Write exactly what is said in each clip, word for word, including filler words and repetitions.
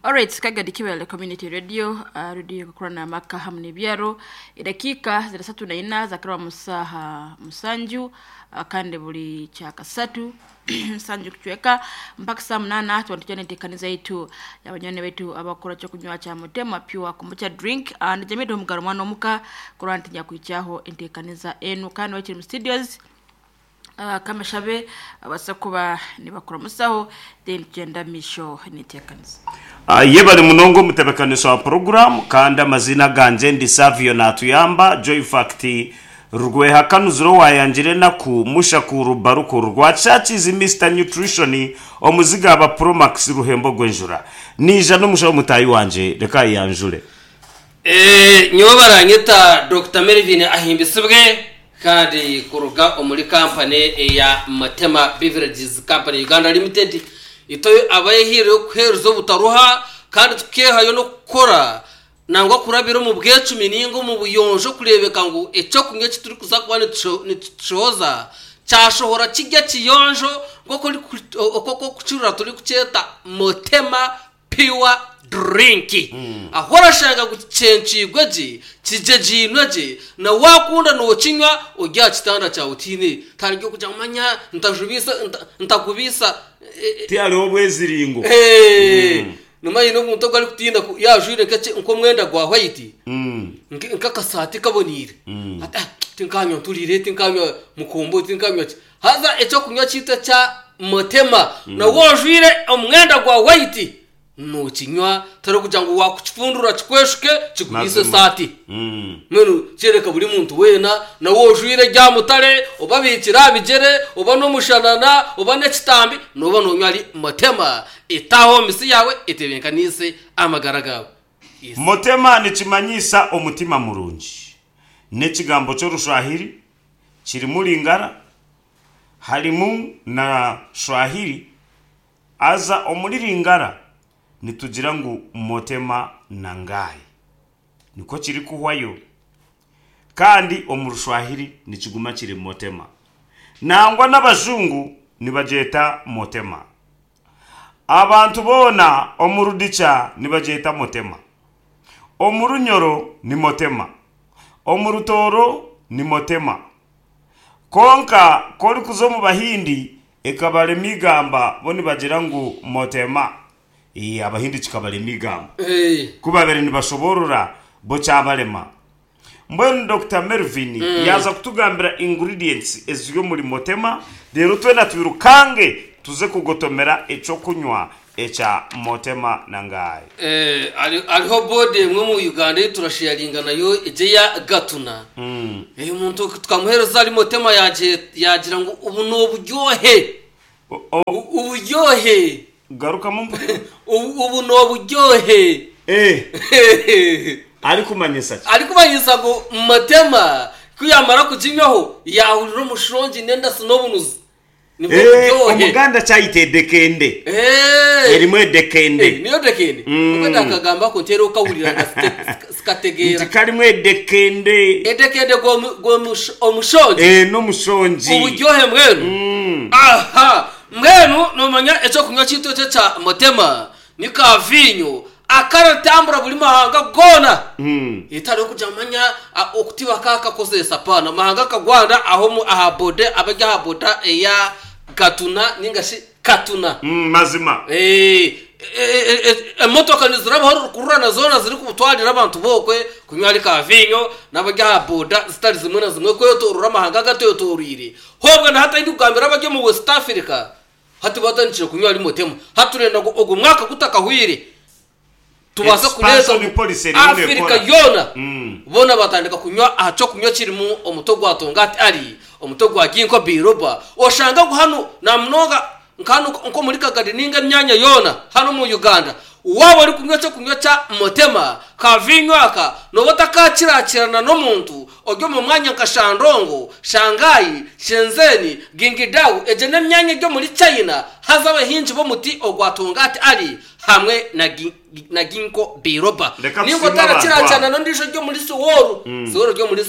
Alright, Kagadi Kibale Community Radio, uh, radio kukurana maka hamwe n'ebyaro edakiika ziri satu na ina zakirwa musaha musanju uh, kandi buli kyakasatu nsanju kuchweka mpaka saa munana tuwantujana enteekaniza yaitu y'abanywanyi baitu abakora kyokunywa kya mutema pure kombucha drink uh, nijamii omugaro mwana omuka kurwa ntinya kwikyaho enteekaniza enu kandi wakiri mu studios uh, kamashabe abasa kuba nibakora musaho then tugenda misho n'enteekaniza. Ah, yebale munongo omutebekanisa wa program, kandi amazina ganje ndi Savio Natuyamba Joy Fact Rweha Kanuzuro wayangire naku mushakuru baruku rwa chachizi Mister Nutrition omuziga aba Promax ruhembo gwenjura nija n'umushaho mutayi wanje reka yanjure. Eh, nyowe baranyeta Doctor Melvin Ahimbisibwe kandi kuruga omuri company ya Matema Beverages Company Uganda Limited itoyo abayehire kuheruza obutaruha kandi tukehayo no kukora nangwa kurabira mu bwecumi ningo mu buyonjo kurebeka ngo ekyokunywa kituri kuza kuba nitushoza cyashohora kijya kiyonjo ngoko okoko kucurura turi kucyeta Motema Pure Drink. mm. Ahora shanga gucencigwe ji kije jinwe ji na wakunda no kinywa ujya kitanda cyawe utine taryo kujya manya ntajubisa ntakubisa ti hariho bweziringo eh numa yino muntu gwari kutinda yajure kace nko mwenda gwa white mm nkakasati kabonire ata tinkanywa turire tinkanywa mukombo tinkanywa haza eco kunywa cyita cya Motema na wajure omwenda gwa white no kinywa tari kugira ngo wakukifundura kikweshuke kigubise sati mm. Mwenu kereka buri muntu wena na wojwire rya mutare obabikira bigere oba no mushanana oba nekitambi noba nonywa ari Motema itaho misi yawe itebenkanise amagara gawe. Yes. Motema nikimanyisa omutima murungi n'ekigambo ky'orushwahiri kirimu lingara harimu na shwahiri aza omuri lingara nitugira ngu Motema nangaye niko kiri kuhwayo kandi omurushwahiri nikiguma kiri Motema nangwa n'abazungu nibajeta Motema abantu bona omurudicha nibajeta Motema omurunyoro ni Motema omurutoro ni Motema konka kori kuzo mu bahindi ekabale migamba bo nibagira ngu Motema. Iya abahindi kikabale migamba hey. Kubabere nibashoborora bo cyabarema mbwenu Doctor Melvin mm. yaza kutugambira ingredients ezyo muri Motema rero twena tubirukange tuze kugotomera eco kunywa echa Motema nangaye. Eh ariho bode mwe mu Uganda turasharinga nayo eje ya Gatuna mm. Eh umuntu twamuhereza ari Motema yaje yagira ngo ubu no buryohe uburyohe garuka mu ubu no buryohe eh ari kumanyisa ari kumanyisa ngo Motema kuyamara kujinywaho yahurira umushongi nenda sinobunuzi nibwo buryohe omuganda cyayite dekende eh erimwe dekende niyo dekende ubwo akagamba ko ntero ukahurira sikategera nti dekende edekende go go omushongi eh no mushongi uburyohe mwenu aha mwenu nomanya eco kunywa cyito cya Motema ni ka vinyo akaratambura buri mahanga gona mm. itari kujya manya okutiba kaka kozesa pana mahanga kagwanda aho mu ahabode abajya ahaboda eya Gatuna ningashi Katuna mm, mazima eh emotoka nizirabaho kurana zona ziri kubutwarira abantu bokwe kunywa ari ka vinyo n'abajya ahaboda zitari zimwe na zimwe kwetorora amahanga gatotorire hobwe na hatari kugambira abajya mu West Africa hati batanishije kunywa ari Motema haturenda ogo mwaka gutakahwire tubasa kuleta Afrika yona mm. bona batandika kunywa aco kunywa kirimo omuto gwa tongati ari omuto gwa ginko biroba oshanga hano namunoga nkano nko muri Kagadi ninga myanya yona hano mu Uganda waba ari kunywa cyo kunywa cya Motema kavinywaka no batakakirakirana no muntu ogyo mu mwanya nka Shandongo Shanghai Shenzhen Gingidao eje nemyanya ryo muri China hazaba hinji bo muti ogwatongati ari hamwe na na ginko biroba ningo tarakiracana no ndisho ryo muri Seoul mm. Seoul ryo muri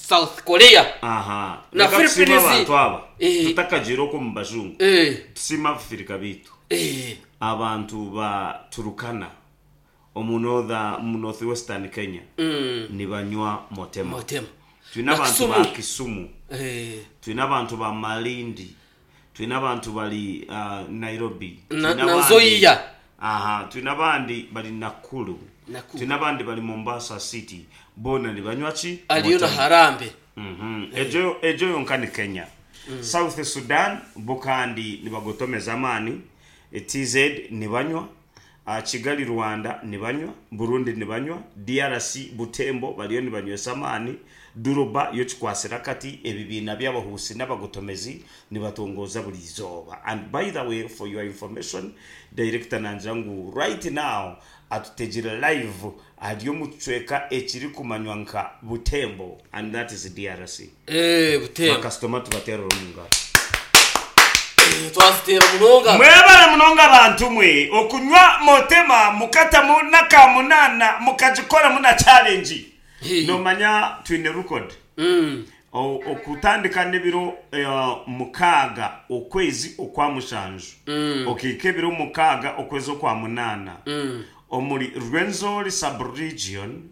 South Korea aha na Philippines tutakajiro ko mubazungu eh tusima Afrika bitu eh abantu ba Turukana Omu northern, mu northwestern Kenya Mm. nibanywa Motema. Motema. Twine Na abantu Kisumu. ba Kisumu, Eh, twine abantu ba Malindi, twine abantu bali uh, Nairobi. Na- Twine na abandi- Nzoia. Aha, twine abandi bali Nakuru. Nakuru. Twine abandi bali Mombasa City, bona nibanywa ki? Aliyo na Motema. Harambe. Mhm. ejo ejo yonka ni Kenya. South Sudan bo kandi nibagotomeza amaani. T Z nibanywa, uh, Kigali Rwanda nibanywa, Burundi nibanywa, D R C Butembo bariyo nibanywesa amaani, Duruba yo kikwasira kati ebibiina by'abahusi n'abagotomezi nibatongoza buri izooba. And by the way, for your information, director nangira ngu right now atutegire live ari omu kicweka ekiri kumanywa nka Butembo, and that is D R C. Eh, Butembo. Bakasitoma tubaterera omu ngaro. Eh, twazitera munonga. Mwebale munonga abantu mwe okunywa Motema mukatamu nakamunana mukagikoramu na challenge. Hey. Nomanya twine record. Mm. O- okutandika n'ebiro eh, mukaaga okwezi okwa mushanju Mm. okiika ebiro mukaaga okwezi okwa munaana Mm. omuri Rwenzori subregion,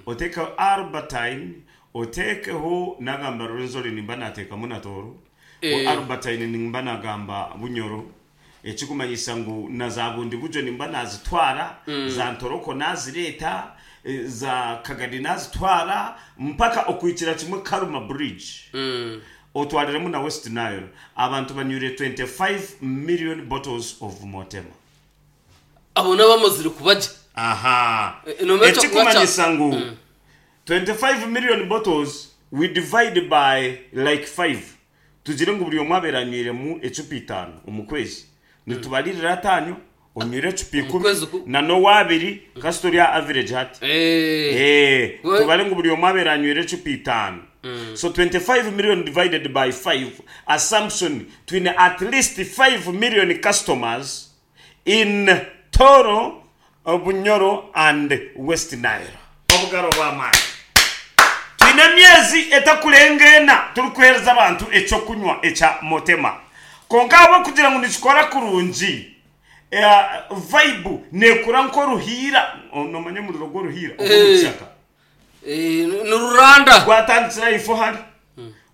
otekeho Albertine, otekeho nagamba Rwenzori nimba nateekamu na Tooro. Eh. O Albertine nimba nagamba Bunyoro, ekikumanyisa ngu na za bundi bujo nimba nazitwara, za Ntoroko nazireeta, eh, za Kagadi nazitwara mpaka okwikira kimwe Karuma Bridge. Mm. Otwariremu na West Nile, abantu banywire twenty-five million bottles of Motema. Abo n'abamazire kubajya. Aha. Eh, nomenya Ekikumanyisa ngu twenty-five million bottles, we divide by like five, tugire ngu buri omwe abeera anywiremu ecupa itaano omu kwezi, nitubalirira ataano onywire ecupa ikumi kwezi ku- na n'owabiri kasi turi average hati. Eh. Eh, We- tubale ngu buri omwe abeera anywire ecupa itaano. So twenty-five million divided by five, assumption twine at least five million customers in Toro, Bunyoro and West Nile. Obugaro bw'amaani, twine emyezi etakurenga ena turikuhereza abantu ekyokunywa ekya Motema. Konka abo kugira ngu nikikora kurungi, eh, vibe nekura nk'oruhiira. Nomanya omuriro gw'oruhiira ogw'omukishaka? Eh, ni ruranda. Gwatandikira ifo hari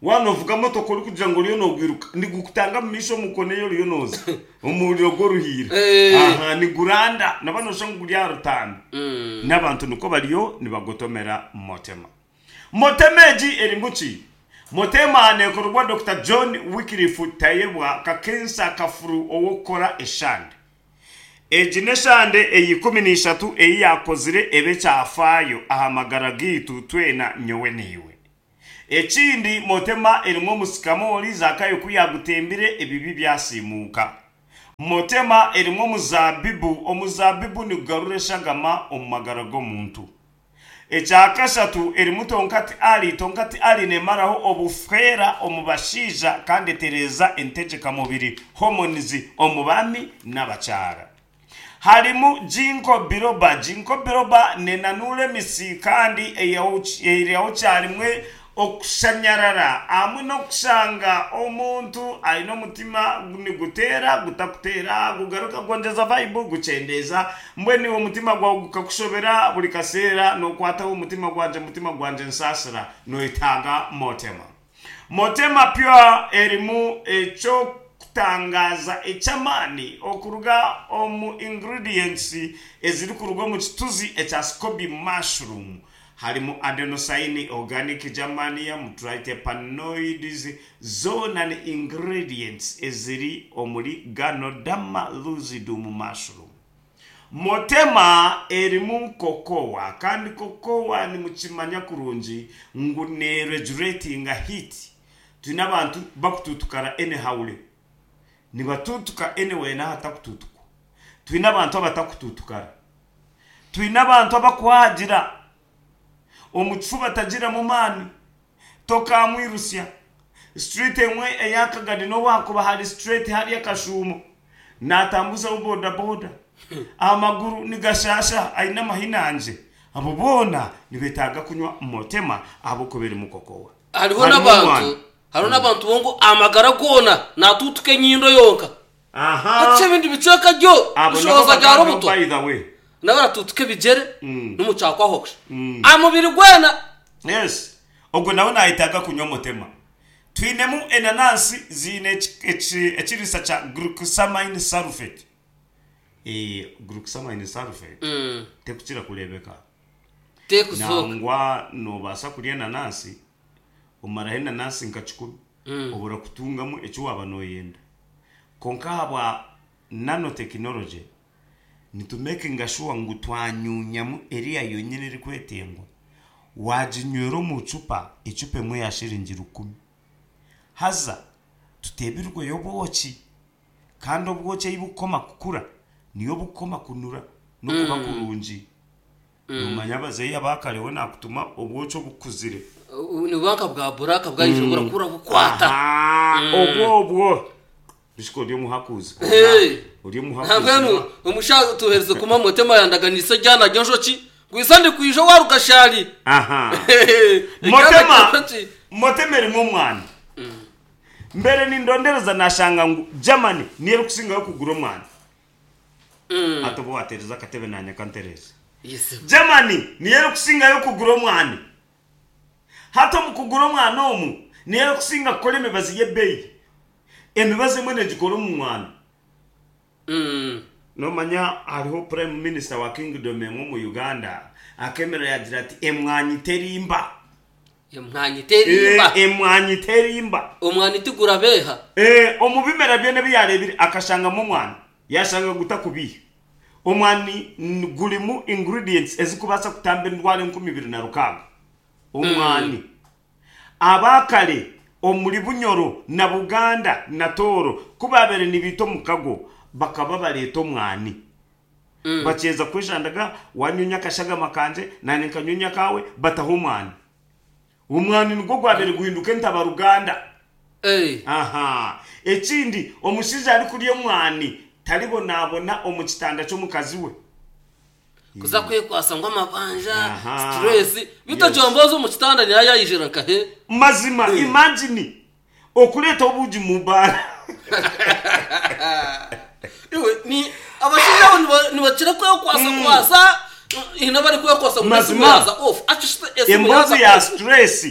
wanovuga motoka ori kugira ngu oriyo nogwiruka, nigukutanga mu maisho omukono oriyo noza omuriro gw'oruhiira. Eh. Aha, niguranda naba nosha ngu guri aha rutanda. Mm. N'abantu niko bariyo nibagotomera Motema. Motema egi erimu ki? Motema nekorwa Doctor John Wycliffe Tayebwa Kakensa Kafuru owokukora eshande. Egi n'eshande eyi ikumi n'ishatu eyi yakozire ebe kyafaayo aha magara gitu twena nyowe niiwe. Ekindi, Motema erimu omusikamoli zakayo ku yagutembire ebibi byasimuka. Motema erimu omuzabibu, omuzabibu nigugarura eshagama omu magara g'omuntu. Ekyakashatu, erimu tonkati ali. Tonkati ali nemaraho obufera omu bashaija kandi etereza entegeka-mubiri, hormones, omu bami n'abakyara. Harimu ginkgo biloba. Ginkgo biloba nenanura emisi kandi eyaho kyarimwe okushanyarara hamwe n'okushanga omuntu aine omutima niguteera gutakuteera gugaruka gwongyeza vibe gukyendeza. Mbwenu iwe omutima gwawe gukakushobera buri kaseera nokwataho omutima gwangye, omutima gwangye nsaasira, noyetaaga Motema. Motema Pure erimu ekyokutangaza eky'amaani okuruga omu ingredients ezirikuruga omu kituzi ekya SCOBY mushroom. Harimu adenosine, organic germanium, triterpenoids, zoona ni ingredients eziri omuri Ganoderma lucidum mushroom. Motema erimu cocoa, kandi cocoa nimukimanya kurungi ngu ne regulatinga heat. Twine abantu bakututukara anyhow, nibatutuka anyway n'ahatakututukwa. Twine abantu abatakututukara, twine abantu abakuhagira omu kifuba tagiramu maani tokamwirusya. Street emwe eyakagadi nowakuba hari straight hari akashumo natambuzaho boda boda amaguru nigashasha aine amahinanje, abo boona nibetaaga kunywa Motema ahabwokuba erimu cocoa. Hariho Harimu n'abantu omwana. Hariho n'abantu bongo amagara goona natutuka enyindo yonka. Aha. Hati ebindi bicweka ryo Abo nabo bishoboza bya bagamba, rubuto. by the way, N'abaratutuka ebigere n'omukyakwaho kusha amubiri gwena. Yes, ogwo nawe nayetaaga kunywa Motema. Twinemu enanansi ziine ekiriisa kya glucosamine sulfate. Glucosamine sulfate tekukira kureebeka. Tekuzooka. Nangwa noobaasa kurya enanansi omaraho enanansi nka kikumi obura kutungamu eki waaba nooyenda. Kwonka ahabwa nanotechnology nitumakinga sure ngu twanyuunyamu eriya yonyini erikwetengwa. Waaginywera omu cupa, ecupa emwe ya shiringi rukumi. Haza tuteebirweyo obwoki, kandi obwoki ei bukukoma kukura niyo bukukoma kunura n'okuba kurungi. Noomanya abazeeyi aba kare we naakutuma obwoki obukuzire. Nibuba nka bwa buraka bwaija burakura bukwata. Aha, obwo obwo bishika ori omuhakuzi. Hey. Ori omuhakuzi. Nambwenu omushaija tuhereze kuma Motema yandaganise ryana ry'enjoki gwisa ndi kwija warugashari. Aha. Eryana Motema ry'enjoki. Motema erimu omwana. Mbere nindondereza nashanga ngu Germany niyo erikusingayo kugura omwana. Ate oba watereza akatebe nanye kantereza. Yes. Germany niyo erikusingayo kugura omwana. Hati omu kugura omwana omu niyo erikusinga kukora emibazi y'ebeeyi. Emibazi emwe negikora omu mwana. Mm. Nomanya hariho prime minister wa kingdom emwe omu Uganda akemera yagira ati emwanyi terimba. Emwanyi terimba. Eh, emwanyi terimba. Omwani tigurabeha. Eh, omu bimera byona ebi yareebire akashangamu omwani yashanga gutakubiha. Omwani n- gurimu ingredients ezikubaasa kutamba endwara enkumi ibiri na rukaaga. Omwani abakare omuri Bunyoro na Buganda na Tooro ku baabere nibiita omukago bakaba bareeta omwani, bakyeza kwejandaga, wanyunya akashagama kanje nanye nkanyunya kawe, bataho omwani. Omwani nigwo gwabere guhinduka entabaruganda. Eh. Aha, ekindi, omushaija arikurya omwani taribonabona omu kitanda ky'omukazi we. Kuza kwekwasa ngo amabanja, Aha. stress bitajomboza omu kitanda niyo yayijira nkahe. Mazima, imagine okureeta obuugi mu baara. Iwe ni abashaija abo niba- nibakira kwekwasa kwasa ina bari kwekwasa ngo Mazima. esimu yaza off actually esimu Emboozi yaza ya off. stress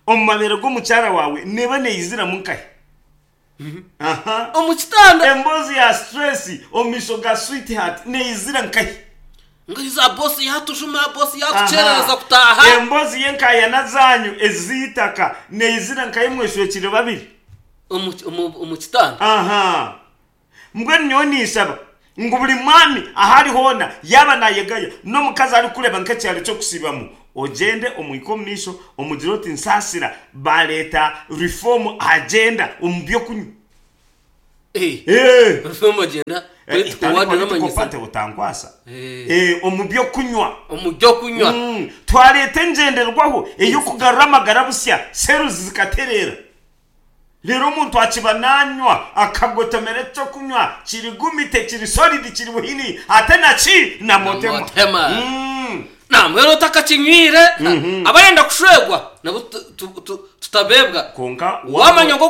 omu mabere g'omukyara waawe neba neiziramu nkahe? Aha. Omu kitanda. Emboozi ya stress omu maisho ga sweetheart neizira nkahe? Ngo iza boss yatujuma, boss Aha. yatucherereza kutaha. Emboozi y'enkayana zanyu ez'itaka neizira nkahe mweshwekire babiri? Omu omu- omu kitanda. Aha, mbwenu nyowe ninsaba ngu buri mwami ahari hoona yaba nayegaya n'omukazi arikureba nk'ekyaro ky'okusibamu, ogyende omwike omu maisho omugire oti nsaasira bareeta reform agenda omu byokunywa. Eh. Eh. Reform agenda. Eh, Political itari word political n'amanyisa. party otankwasa. Eh. Eh, omu byokunywa. Omu byokunywa. Mm, twareeta engyenderwaho ey'okugarura amagara busya, seruzi zikaterera, rero omuntu akiba nanywa akagotomera ekyokunywa kiri gumite, kiri solid, kiri buhini, ate naki na Motema. Motema. Mm. Namwero utakakinywire abarenda kushwegwa nabo tu- tu- tu- tutabebwa. Konka Wamanya ngo